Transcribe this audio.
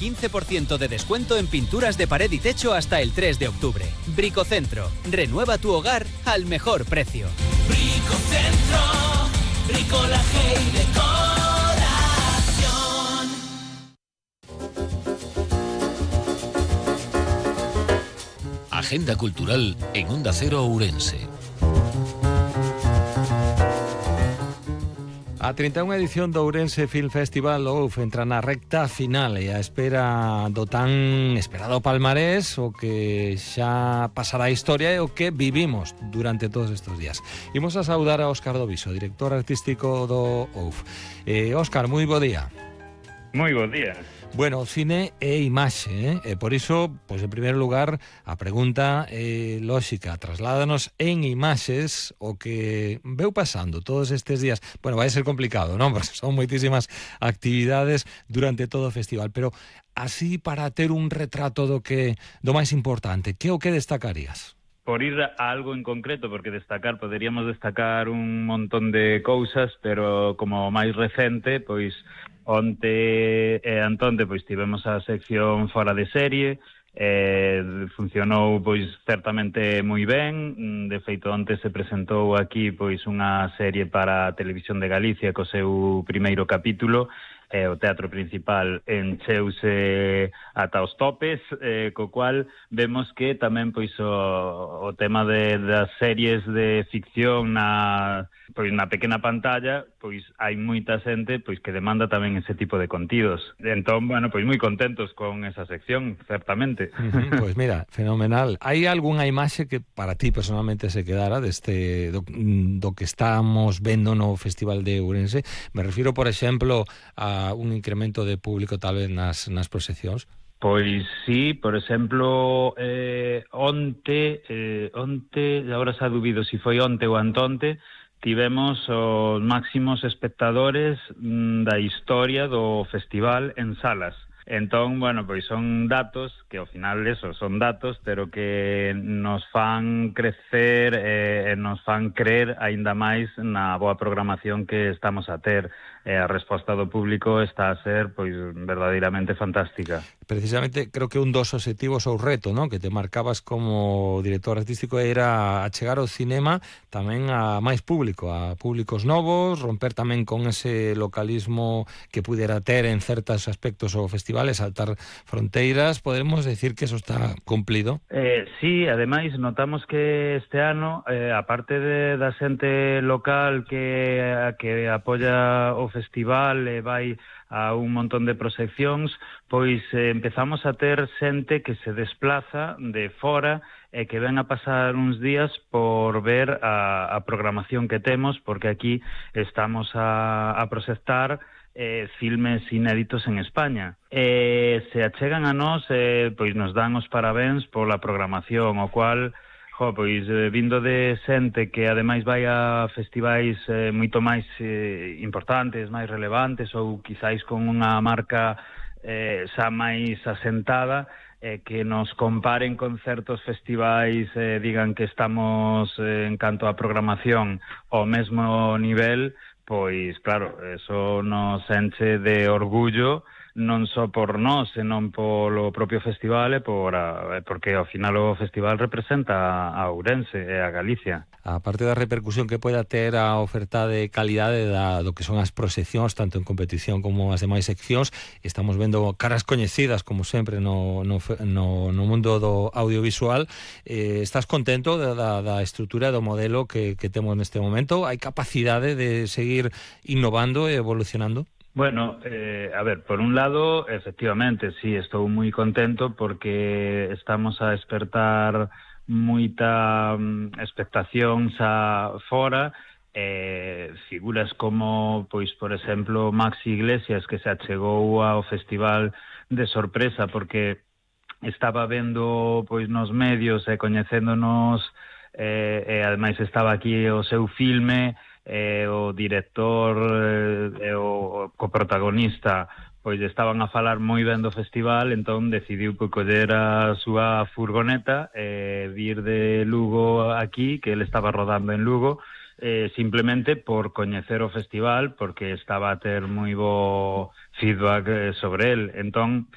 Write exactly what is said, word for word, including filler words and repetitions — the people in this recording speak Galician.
quince por ciento de descuento en pinturas de pared y techo hasta el tres de octubre. Bricocentro, renueva tu hogar al mejor precio. Bricocentro, bricolaje y decoración. Agenda cultural en Onda Cero Ourense. A trinta e unha edición do Ourense Film Festival O U F entra na recta final e a espera do tan esperado palmarés, o que xa pasará a historia e o que vivimos durante todos estes días. Imos a saudar a Óscar Doviso, director artístico do O U F. Eh, Óscar, moi bo día. Moi bo día. Bueno, cine e imaxe, eh? E por iso, pois en primeiro lugar, a pregunta é eh, lóxica, trasládanos en imaxes o que veu pasando todos estes días. Bueno, vai ser complicado, non? Porque son moitísimas actividades durante todo o festival, pero así para ter un retrato do que do máis importante, que o que destacarías? Por ir a algo en concreto, porque destacar, poderíamos destacar un montón de cousas, pero como máis recente, pois onte e antonte pois tivemos a sección Fora de Serie, eh, funcionou pois certamente moi ben. De feito, onte se presentou aquí pois unha serie para a Televisión de Galicia co seu primeiro capítulo, e o teatro principal encheuse ata os topes, eh, co cual vemos que tamén pois o, o tema de, das series de ficción na, pois, na pequena pantalla, pois hai moita xente pois que demanda tamén ese tipo de contidos. Entón, bueno, pois moi contentos con esa sección, certamente. Uh-huh, pois mira, fenomenal. Hai algunha imaxe que para ti personalmente se quedara deste do, do que estamos vendo no Festival de Ourense? Me refiro, por exemplo, a un incremento de público tal vez nas, nas proxeccións? Pois sí, por exemplo, eh, onte, eh, onte, agora xa dubido se si foi onte ou antonte, tivemos os máximos espectadores mm, da historia do festival en salas. Entón, bueno, pois son datos que ao final eso, son datos, pero que nos fan crecer e eh, nos fan creer aínda máis na boa programación que estamos a ter. E a resposta do público está a ser pois verdadeiramente fantástica. Precisamente, creo que un dos obxectivos ou reto, ¿no?, que te marcabas como director artístico era achegar o cinema tamén a máis público, a públicos novos, romper tamén con ese localismo que pudera ter en certos aspectos o festival, saltar fronteiras. Podemos decir que eso está cumplido? Eh, sí, ademais notamos que este ano, eh, aparte de, da xente local que, que apoia o festival e vai a un montón de proxeccións, pois eh, empezamos a ter xente que se desplaza de fora e que ven a pasar uns días por ver a, a programación que temos, porque aquí estamos a, a proxectar eh, filmes inéditos en España. E se achegan a nós, eh, pois nos dan os parabéns pola programación, o cual... Jo, pois eh, vindo de xente que ademais vai a festivais eh, moito máis eh, importantes, máis relevantes ou quizáis con unha marca eh, xa máis asentada, eh, que nos comparen con certos festivais, eh, digan que estamos eh, en canto a programación ao mesmo nivel, pois claro, eso nos enche de orgullo, non só por nós, senón polo propio festival e por a, porque ao final o festival representa a Ourense e a Galicia. A parte da repercusión que poida ter a oferta de calidade da, do que son as proxeccións, tanto en competición como as demais seccións, estamos vendo caras coñecidas, como sempre, no, no, no, no mundo do audiovisual. Eh, estás contento da, da, da estrutura do modelo que, que temos neste momento? Hai capacidade de seguir innovando e evolucionando? Bueno, eh, a ver, por un lado, efectivamente, sí, estou moi contento porque estamos a despertar moita um, expectación xa fora, eh, figuras como, pois, por exemplo, Maxi Iglesias, que se achegou ao festival de sorpresa porque estaba vendo, pois, nos medios e coñecéndonos, eh, e ademais estaba aquí o seu filme, eh, o director e eh, o coprotagonista pois estaban a falar moi ben do festival, entón decidiu pois, coller a súa furgoneta e eh, vir de Lugo aquí, que ele estaba rodando en Lugo, eh, simplemente por coñecer o festival, porque estaba a ter moi bo feedback sobre el. Entón,